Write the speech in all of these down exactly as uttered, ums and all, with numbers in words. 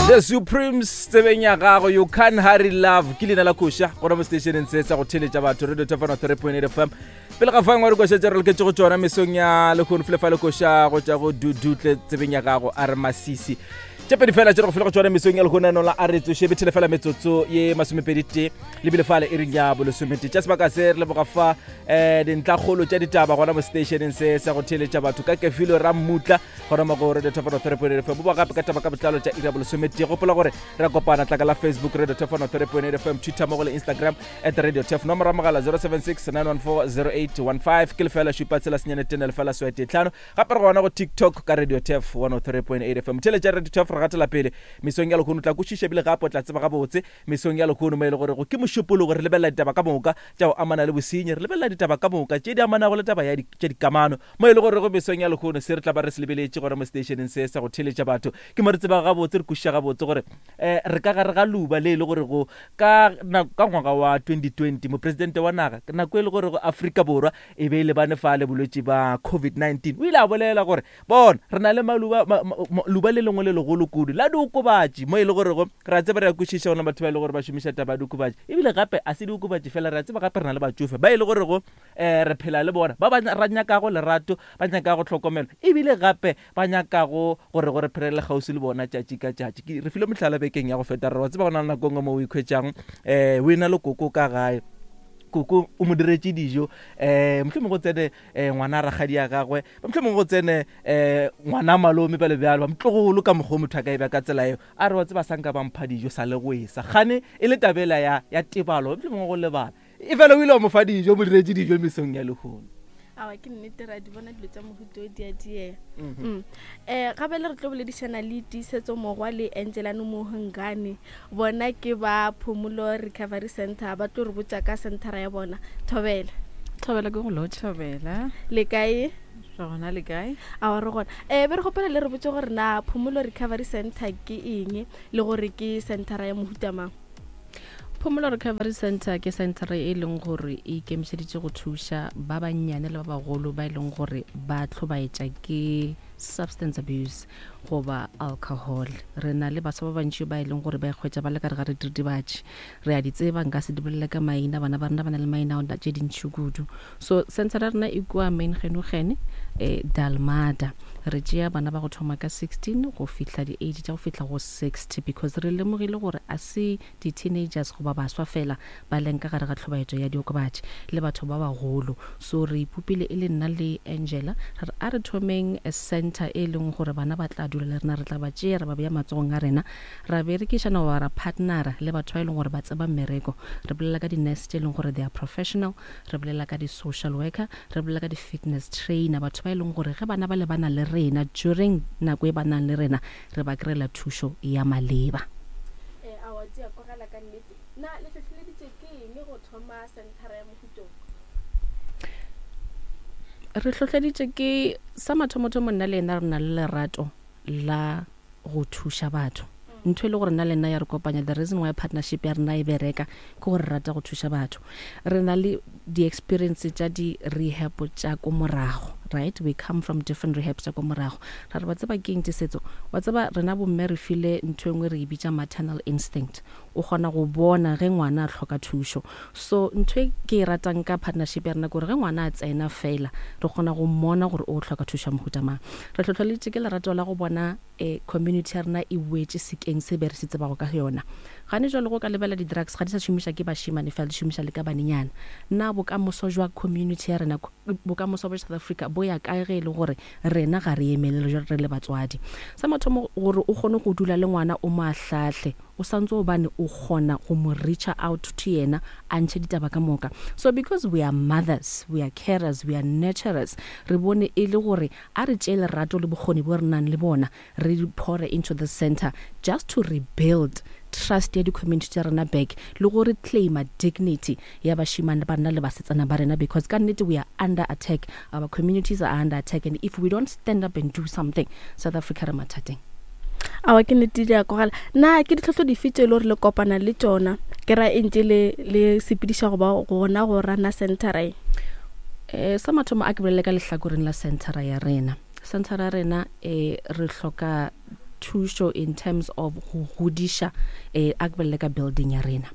The Supremes tsebeng ya gago, "You Can Hurry Love" ke leina la koša gona mo stationeng se sa go theletša batho, Radio Tefano three point eight F M. Pele ga fangwe re koša tše re loketše go tšona mesong ya lehono, fele fa le koša go tša go Dudutle tsebeng ya gago, a re masisi tše pedi fela tše re go fele go tšona mesong ya lehono. Eno la a re tsoše bethele fela metsotso ye masomepedi tee lebile fale e reng ya bolesomete tša sebaka se. Re leboga fa um dintlakgolo tša ditaba gona mo stationeng se sa go theletša batho ka kefilo ra mmutla gona mo go Radio Tefano three point eight F M. Boba gape ka taba ka botlalo tša iri ya bolesometee. Gopola gore re a kopana tlaka la Facebook, Radio Tefano three point eight F M, Twitter mo go le Instagram at Radio Tef. Nomoro ya mogala zero seven six nine one four zero eight one five ke lefela šupa tshela senyane tene lefela swete tlhano. Gape re gona go TikTok ka Radio Tef one oh three point eight F M. Theletša Radio Tef, re gatela pele mesong ya lekgono. O tla kwešiša ebile gape o tla tseba gabotse mesong ya lekgono mo e le gore go ke mošupologo. Re lebelela ditaba ka moka tša go amana le bosenyi, re lebelela ditaba ka moka tše di amanago le taba ya di- tša dikamano mo e le gore go mesong ya lekgono se re tla ba re se lebeletše gona mo stationeng se sa go theletša batho. Ke mo re tseba gabotse, re kwešiša gabotse gore um re ka gare ga luba le e le gore go ka nako- ka ngwaga wa twenty twenty mopresidente wa naga, nako e le gore go Afrika Borwa e be e lebane fa le bolwetši ba COVID nineteen, o ile a bolela gore bona re na le maluba ma, ma, ma, luba le lengwe le legolo kudu la diokobatši mo e le gorego re a tseba, re a kwešiša gona batho ba e le gore ba šomiša taba ya diokobatši. Ebile gape a se diokobatši fela, re a tseba gape re na le batsofe ba e le gorego um re phela le bona ba ba ra nyakago lerato, ba nyakago tlhokomelo, ebile gape ba nyakago gore gore phelele kgauswi le bona tšatši ka tšatši. Ke- re file mohlala bekeng ya go feta, re wa tseba go na le nako e nngwe mo o ikhwetšang um o ena le koko ka gae, koko o mo diretše dijo, um mohlomongwe go tsene um ngwana a rakgadi ya gagwe, mohlomongwe go tsene um ngwana malome bjalo bjalo, ba motlogolo ka mokgwa o motho a ka e bja ka tsela eo, a re wa tseba sanka ba mpha dijo sa le go esa gane e le tabela ya ya tebalo, mohlomongwe go lebala, e fela o ile wa mo fa dijo, mo diretše dijo mesong ya lehono. Awa, ke nnete, ra di bona dilo tša mohuto o di a diega. um gape le re tlo boledišana le Tiisetso Mogwa le Angelano Mohongane, bona ke ba Phomolo Recovery Center, ba tlo re botša ka centera ya bona. Thobela. Thobela, ke go lotšha. Thobela. Le kae? Re gona, le kae? Awa, re gona. um be re gopela le re botse gore na Phomolo Recovery Center ke eng le gore ke centera ya mohuta mang? Phomolo Recovery Center ke center e leng gore e ikemišeditše go thuša ba bannyane le ba bagolo ba e leng gore ba tlhobaetša ke substance abuse goba alcohol. Re na le baswa ba bantši ba e leng gore ba ikgwetša ba le ka re ga re diritibatši, re a di tseba, nka se di bolele ka maina, bana ba rena ba na le maina ao tše dintši kudu. So center ya rena e kua Main Genugene, um Dalmada. Re tšea bana ba go thoma ka sixteen go fihla di-age tša go fihla go sixty, because re lemogile gore a se di-teenagers goba baswa fela ba leng ka gare ga tlhobaetšo ya diokobatši, le batho ba bagolo. So re ipopile e le nna le Angela, re re a re thomeng a center e leng gore bana ba tla dula le rena, re tla ba tšea, re ba beya matsogong a rena, ra berekišana goba ra partnera le batho ba e leng gore ba tseba mmereko. Re bolela ka di-nurse tše e leng gore they are professional, re bolela ka di-social worker, re bolela ka di-fitness trainer, batho ba e leng gore ge bana ba le ba na le rena during nako e ba nang le rena, re ba kry-ela thušo ya maleba. um awa, di a kwagala ka nnete. Na le hlohleleditše ke eng go thoma centera ya mohuto? Re hlohleditše ke sa mathomothomo, nna le ena re na le lerato la go thuša batho, ntho e le gore nna le nna ya re kopanya. The reason why partnership ya rena e bereka ke gore re rata go thuša batho. Re na le di-experience tša di-rehab tša ko morago, right? We come from different rehabs tša ko morago. Ra re ba tseba keng, Tisetso, wa tseba rena bomme re file ntho e nngwe re e bitša maternal instinct, o kgona go bona ge ngwana a hloka thušo. So ntho e ke e ratang ka partnership ya rena ke gore ge ngwana a tsena fela, re kgona go mmona gore o hloka thušo ya mohuta mang. Re hlohleleditše ke lerato la go bona um community ya rena e boetše sekeng se be re se tsebago ka yona. Gane jalo go ka lebela di-drugs ga di sa šomiša ke bašemane fela, di šomiša le ka banenyana. Na bokamoso jwa community ya rena, bokamoso bja South Africa bo ya kae ge e le gore rena ga re emelele jwalo re le batswadi? Sa mathomo, gore o kgone go dula le ngwana o mo ahlahle, o santse obane o kgona go mo reacha out to yena, a ntšhe ditaba ka moka. So because we are mothers, we are carers, we are nurturers, re bone e le gore a re tšee lerato le bokgoni bo re nang le bona, re pore into the center just to rebuild trust ya di-community tša rena back le gore claima dignity ya bašemane ba rena le basetsana ba rena, because ka nnete we are under attack, our communities are under attack, and if we don't stand up and do something, South Africa re mathateng. Awa, ke nnete, di a kwagala. Na ke ditlhohlo dife tse e le gore le kopana le tšona, ke ra ntse le le sepediša goba gona go rana centera e? um sa mathomo a ke bolele ka lehlakoreng la centera ya rena. Centera ya rena, um re hloka thušo in terms of go godiša um a ke bolele ka building ya rena.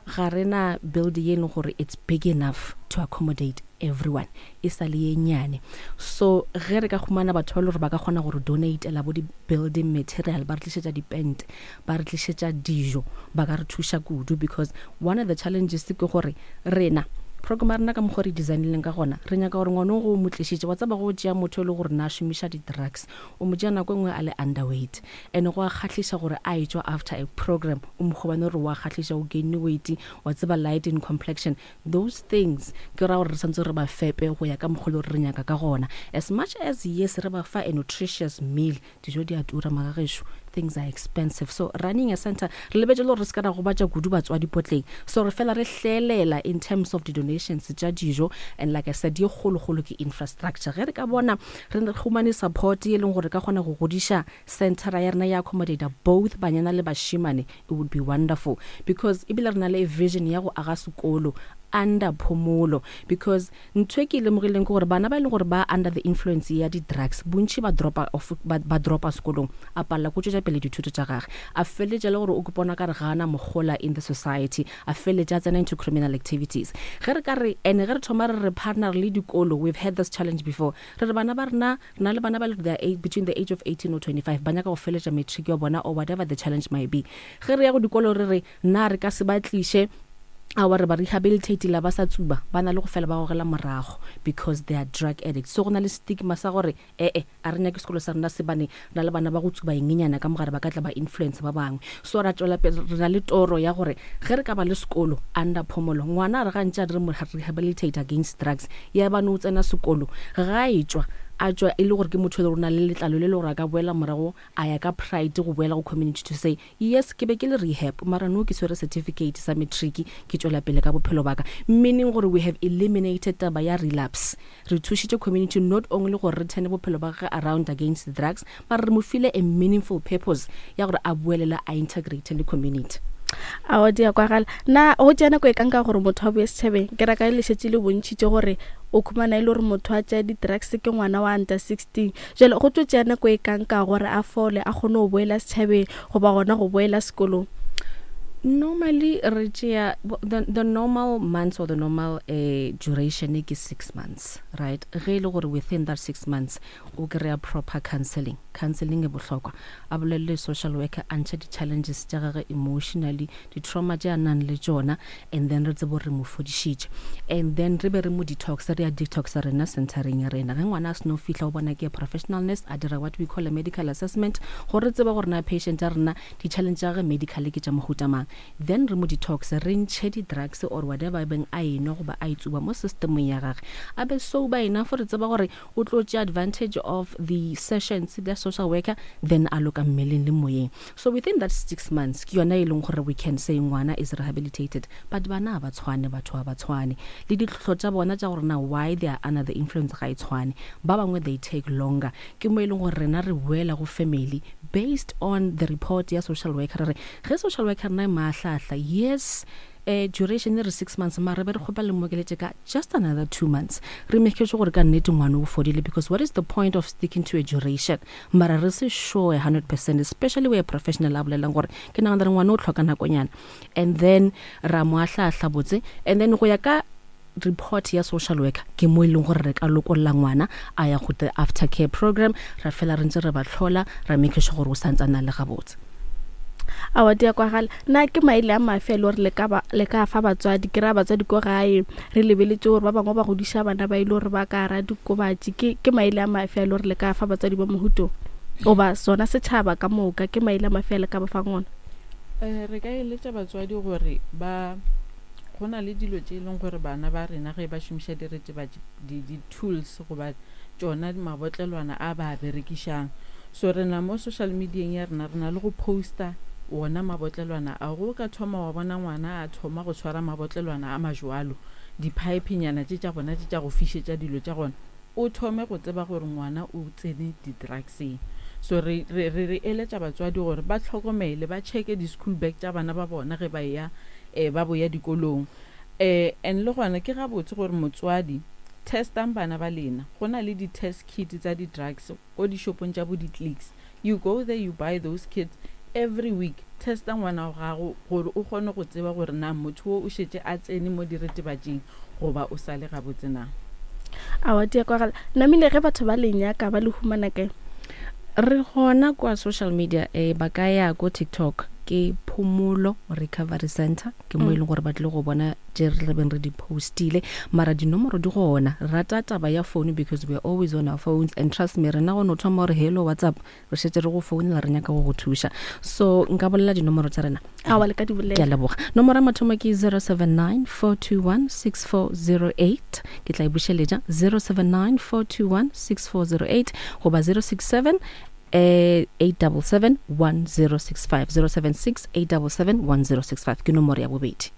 Ga rena building ye e leng gore it's big enough to accommodate everyone, e sa le ye nnyane. So ge re ka humana batho ba e le gore ba ka kgona gore donatela bo di-building material, ba re tlišetša dipente, ba re tlišetša dijo, ba ka re thuša kudu. Because one of the challenges ke gore rena program ya rena ka mokgwa re designileng ka gona, re nyaka gore ngwana o go mo tlišitše, wa tseba go tšea motho e le gore na šomiša di-drugs, o mo tšea nako e nngwe a le underweight, and go a kgahliša gore a etšwa after a program o mo kgobane gore wa kgahliša, o gaine weight, wa tseba, light in complexion. Those things ke ra gore re santse re ba fepe go ya ka mokgwa le gore re nyaka ka gona. As much as yes, re ba fa a nutritious meal, dijo di a tura magagešo, things are expensive. So running a center, re lebetse le gore re se ka ra gobatša kudu batswadi potleng, so re fela re hlelela in terms of the donations tša dijo. And like I said, ye kgolokgolo ke infrastructure. Ge re ka bona re re humane support ye leng gore ka kgona go godiša centera ya rena ya accommodate both banyana le bashimane, it would be wonderful, because ebile re na le vision ya go aga sekolo under Phomolo. Because ntho e ke e lemogileng ke gore bana ba e leng gore ba under the influence ya di-drugs, bontši ba dropa off, ba, ba dropa sekolong, a palela ko tšwetša pele dithuto tša gage, a feleletša le gore o kopona ka re gana mogola in the society, a feleletša a tsena into criminal activities. Ge re ka re and ge re thoma re re partner le dikolo, we've had this challenge before, re re bana ba rena, re na le bana ba le they are eight, between the age of eighteen or twenty-five, ba nyaka go feletša matric ya bona or whatever the challenge might be. Ge re ya go dikolo re re nna re ka se ba tliše awa re ba rehabilitate la ba sa tsuba, ba na le go fela ba gogela morago because they are drug addicts. So go na le stigma sa gore ee, a re nyake sekolo sa rena se bane re na le bana ba go tsuba engenyana ka mogare, ba ka tla ba influence ba bangwe. So ra tswela pele, re na le toro ya gore ge re ka ba le sekolo under Phomolo, ngwana a re gantši a re mo rehabilitate against drugs, ya bane o tsena sekolo, ga e tswa a tswa e le gore ke motho e le gore o na le letlalo le le gore a ka boela morago a ya ka pride go boela go community to say, yes, ke be ke le rehab, mara no ke swere certificate sa matric, ke tswela pele ka bophelo baka, meaning gore we have eliminated taba ya relapse. Re thušitše community not only gore re turn bophelo ba gagwe around against the drugs, mara re mo file a meaningful purpose ya gore a boelela a integrate le community. Ao di a kwagala. Na go tšea nako e kanka gore motho a boe setšhabeng? Ke raka le šetše le bontšhitše gore o khumana e le gore motho a tšea di-drugs ke ngwana wa under sixteen, jale go tlo tšea nako e kanka gore a fole, a kgone go boela setšhabeng goba gona go boela sekolong? Normally re tšea the, the normal months or the normal uh, duration ke six months, right? Ge e le gore within that six months o kry-a proper counseling, counseling e bohlokwa, a bolelele social worker, a ntšhe di-challenges tša gage emotionally, di-trauma tše a nang le tšona, and then re tsebe gore re mo fodišitše, and then re be re mo detox. Re a detoxa rena centereng ya rena. Ge ngwana a seno fihla o bona ke a professional nurse, a dira what we call a medical assessment gore re tsebe gore na patient ya rena di-challenge tša gage medically ke tša mohuta mang. Then re mo detox, re ntšhe di-drugs or whatever e beng a enwa goba a itsuba mo systemong ya gage, a be sober enough re tseba gore o tlo tšea advantage of the sessions the social worker, then a loka mmeleng le moyeng. So within that six months ke yona e leng gore we can say ngwana is rehabilitated. But bana ga ba tshwane, batho ga ba tshwane le ditlhohlo tša bona tša gore na why they are under the influence ga e tshwane. Ba bangwe they take longer, ke mo e leng gore rena re boela go family based on the report ya social worker. Re re ge social worker rena e maahlahla, yes, eh duration e re six months, mara be re kgopela le mokeletše ka just another two months, re make sure gore ka nnete ngwana o fodile. Because what is the point of sticking to a duration mara re se sure hundred percent, especially where professional a bolelang gore ke nagana re ngwana o tlhoka nakonyana, and then ra mo ahlaahla botse, and then go ya ka report ya social worker ke mo e leng gore re ka lokolla ngwana a ya go the after care program. Ra fela re ntse re ba tlhola, ra make sure gore o santsana le gabotse. Awa di a kwagala. Na ke maele a mafe a le gore le ka ba- le ka fa batswadi? Ke raya batswadi ko gae, re lebeletse gore ba bangwe ba godiša bana ba ile gore ba ka ra dikobatši. ke ke maele a mafe a le gore le ka fa batswadi ba mohutong goba sona setšhaba ka moka? Ke maele a mafe a le ka ba fang ona? um re ka eletša batswadi gore ba go na le dilo tše e leng gore bana ba rena ge ba šomiša diretebatši, di-tools goba tšona mabotlelwana a ba a berekišang. So rena mo social medieng ya rena re na le go posta wona mabotlelwana a. Go ka thoma wa bona ngwana a thoma go tshwara mabotlelwana a majwalo, di-pipenyana tše tša bona tše tša go fišetša dilo tša gona, o thome go tseba gore ngwana o tsene di-drugseng. So re re re re eletša batswadi gore ba tlhokomele, ba checke di-school bag tša bana ba bona ge ba eya um ba boya dikolong. um and le gona ke gabotse gore motswadi testang bana ba lena. Go na le di-test kit tsa di-drugs ko dishopong tša bo di-Clicks. You go there, you buy those kits every week. Testa ngwana wa gago gore o kgone go tseba gore na motho o o šetše a tsene mo diretebatšing goba o sa le gabotse na. Awa, di a kwagala. Namile, ge batho ba le nyaka ba le humana kae? Re gona kwa social media, eh, ba ka ya ko TikTok, ke Phomolo Recovery Center, ke mo e leng gore ba tlile go bona tše re tlabeng re di postile. Mara dinomoro di gona. Re rata taba ya phone because we are always on our phones, and trust me, rena go no thoma gore hello, WhatsApp, re šetše re go founela, re nyaka go go thuša. So nka bolela dinomoro tša rena? Awa, le ka di Ke a bolela. leboga. Nomoro ya mathomo ke zero seven nine, four two one, six four zero eight. Ke tla e bušeletša, zero seven nine, four two one, six four zero eight goba zero six seven eh, eight seven seven, one zero six five, zero seven six, eight seven seven, one zero six five ke nomoro ya bobedi.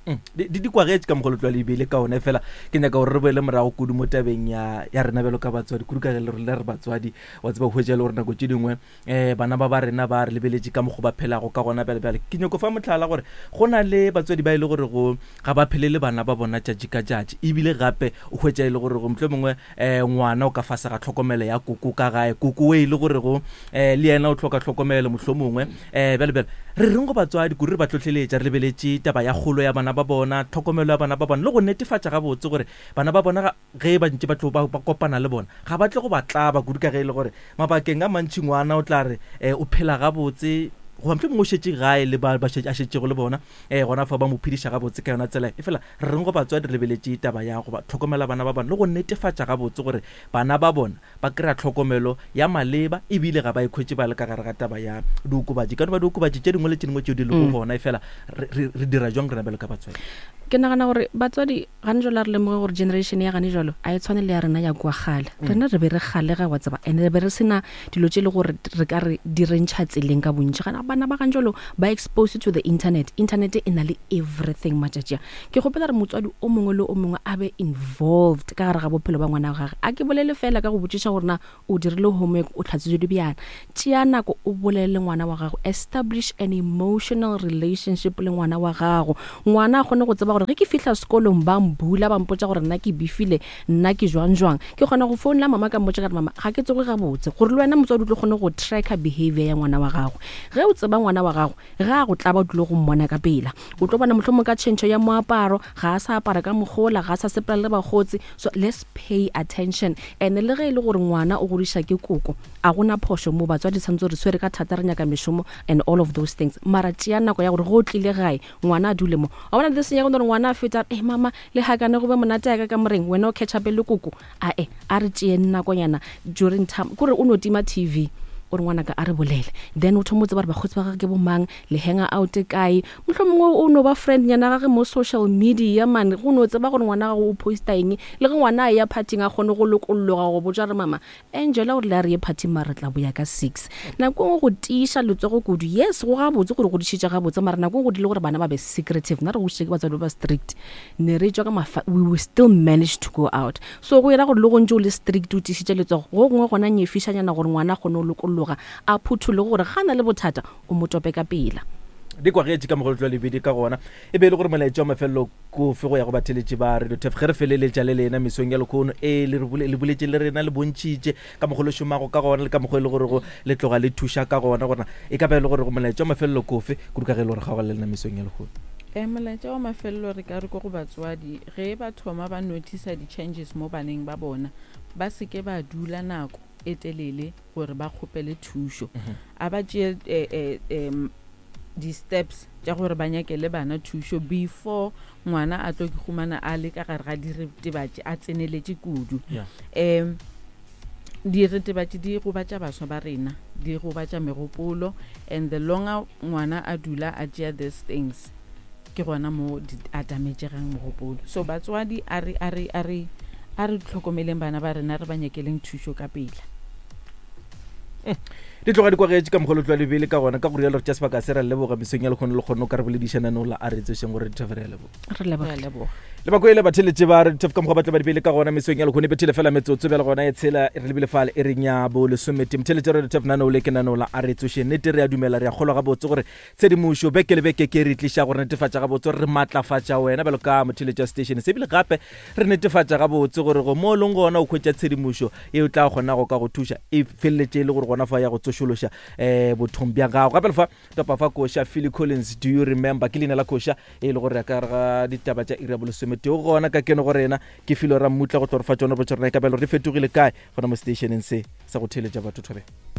Mm, di di kwagetše ka mogolo tlwa lebile ka one fela. Ke nyaka gore re boele morago kudu mo tabeng ya ya rena bjalo ka batswadi, kudu ka ge le rena re batswadi. Wa tseba, hwetša le gore nako tše dingwe um bana ba ba rena ba re lebeletše ka mokgo ba phelago ka gona. Bjale bjale ke nyako fa motlhala gore go na le batswadi ba e le gore go ga ba phele le bana ba bona tšatši ka tšatši, ebile gape o hwetša e le gore go motlho mongwe um ngwana o ka fase ga tlhokomelo ya koko ka gae, koko e le gore go um le yena o tlhoka tlhokomelo motlho mongwe. um bjale bjale re reng go batswadi kudu, re ba tlhotlheletša re lebeletše taba ya kgolo ya bana ba bona, tlhokomelo ya bana ba bona, le go netefatša gabotse gore bana ba bona ga- ge ba ntse ba tlo ba ba kopana le bona ga ba tle go ba tlaba, kudu ka ge e le gore mabakeng a mantši ngwana o tla re um o phela gabotse goba motlho mongwe o šetše gae le ba ba šetše- a šetšego le bona, um gona fa ba mo phediša gabotse ka yona tsela e. Fela re reng go batswadi re lebeletše taba ya go ba tlhokomela bana ba bona le go netefatša gabotse gore bana ba bona ba kry-a tlhokomelo ya maleba, ebile ga ba ikhwetše ba le ka gare ga taba ya diokobatši, ka no ba diokobatši tše dingwe le tše dingwe tšeo di lego gona? E fela re re- re dira jwang rena bjalo ka batswadi? Ke nagana gore batswadi gane jalo a re lemoge gore generation ya gane jalo a e tshwane le ya rena ya kua kgale. Rena re be re kgalega, wa tseba, and re be re sena dilo tše e le gore re ka re di re ntšha tseleng ka bontši. Gana bana ba gane jalo ba exposed to the internet. Internet e na le everything matšatši a. Ke kgopela re motswadi o mongwe le o mongwe a be involved ka gare ga bophelo ba ngwana wa gage. A ke bolele fela ka go botšiša gore na o dirile homework, o tlhatswitše dibjana. Tšea nako o bolele le ngwana wa gago, establish an emotional relationship le ngwana wa gago. Ngwana a kgone go tseba gore ge ke fihla sekolong ba mbula, ba mpotsa gore nna ke befile, nna ke jwang jwang, ke kgona go founela mama ka mmotsa ka re mama ga ke tsoge gabotse, gore le wena motswadi o tlo kgone go tracka behavior ya ngwana wa gago. Ge o tseba ngwana wa gago, ge a go tlaba o tlile go mmona ka pela. O tlo bona mohlomong ka tšhentšho ya moaparo, ga a sa apara ka mogola, ga a sa sepela le bakgotsi. So let's pay attention. And le ge e le gore ngwana o godiša ke koko, a gona phošo mo. Batswadi tshwanetse re tshwere ka thata, re nyaka mešomo and all of those things, mara tšea nako ya gore ge o tlile gae ngwana a dule mo. Wa bona this ya gore ngwana a feta, e mama le hakane go be monate ya ka ka moreng, wena o catch up le koko. Ae, a re tšeeng nakonyana during time kore o no tima T V, o re ngwanaka a re bolele. Then o thoma o tseba gore bakgotsi ba gage ke bomang, le hanga out kae, motlho mongwe o no ba friend nyana gage mo social media man, go no tseba gore ngwana gago o posta eng. Le ge ngwana a ya partyng a kgone go lokolloga go botsa re mama Angela gore le a re ye partyng, mara re tla boya ka six. Nako e nngwe go tiiša letsogo kudu, yes, go gabotse gore godišitše gabotse, mara nako e nngwe go dile gore bana ba be secretive. Nna re godišitše ke batswadi ba ba strict, ne re tswa ka mafa, we will still manage to go out. So go ira gore le go ntse o le strict, o tiišitše letsogo, go gongwe gona nyefišanyana gore ngwana a kgone go lokologa, a phuthole, gore ga na le bothata o mo tope ka pela. Di kwagetše ka mogolo tlwa lebedi ka gona. E be e le gore molaetša wa mafelelo kofe go ya go batheletši ba Radio Tef ge re feleletša le lena mesong ya lekgono? E le re bole- le boletše le rena, le bontšhitše ka mokgwa le šomago ka gona le ka mokgwa e le gore go le tloga le thuša ka gona, gorena e ka ba e le gore go molaetša wa mafelelo kofe, kudu ka ge e le gore kgaoga le lena mesong ya lekgono? Um molaetša wa mafelelo re ka re ko go batswadi, ge ba thoma ba notice di-changes mo baneng ba bona, ba seke ba dula nako e telele gore ba kgopele thušo. A ba tšee eh, eh, em, di-steps tša gore ba nyakele bana thušo before ngwana a tlo ke humana a le ka gare ga diretebatši, a tseneletše kudu. Yeah. um diretebatši di gobatša baswa ba rena, di gobatša megopolo, and the longer ngwana a dula a tšea these things, ke gona mo di a damagegang mogopolo. So batswadi, a re a re a re a re tlhokomeleng bana ba rena, re ba nyakeleng thušo ka pela. Di tloga di kwagetše ka mogolo tlwa lebele ka gona. Ka go rialo re tša sebaka se ra leboga mesong ya lekgono, le kgonne o ka re boledišanano la a re tsošeng gore dithefere ya leboga. Re Re a leboga. Leboga. Le bako ele batheletše ba re thef ka mokgwa ba tle ba dibele ka gona mesong ya lekgone, bethele fela metsotso bjale gona e tshela re lebile fale e reng ya bo lesomete. Motheletše re thef nano le ke nano la a re tsoše. Nnete re a dumela, re a kgolwa gabotse gore tshedimošo beke le beke ke re tliša gore netefatša gabotse gore re maatlafatša wena bjalo ka motheletši wa station se, ebile gape re netefatša gabotse gore go mo o leng gona o hwetša tshedimošo e o tla kgonago ka go thuša e feleletše e le gore gona fa ya go tsoša. tsošološa um bothong bja gago. Gape lefa topa fa koša Philly Collins, Do You Remember, ke leina la koša e le gore ya ka gare ga ditaba tša iri ya bolesometee o gona ka keno go rena ke filo ra mmutla go tlo re fa tsona botse rena e ka belo re fetogile kae gona mo stationeng se sa go theeletša batho. Thobela.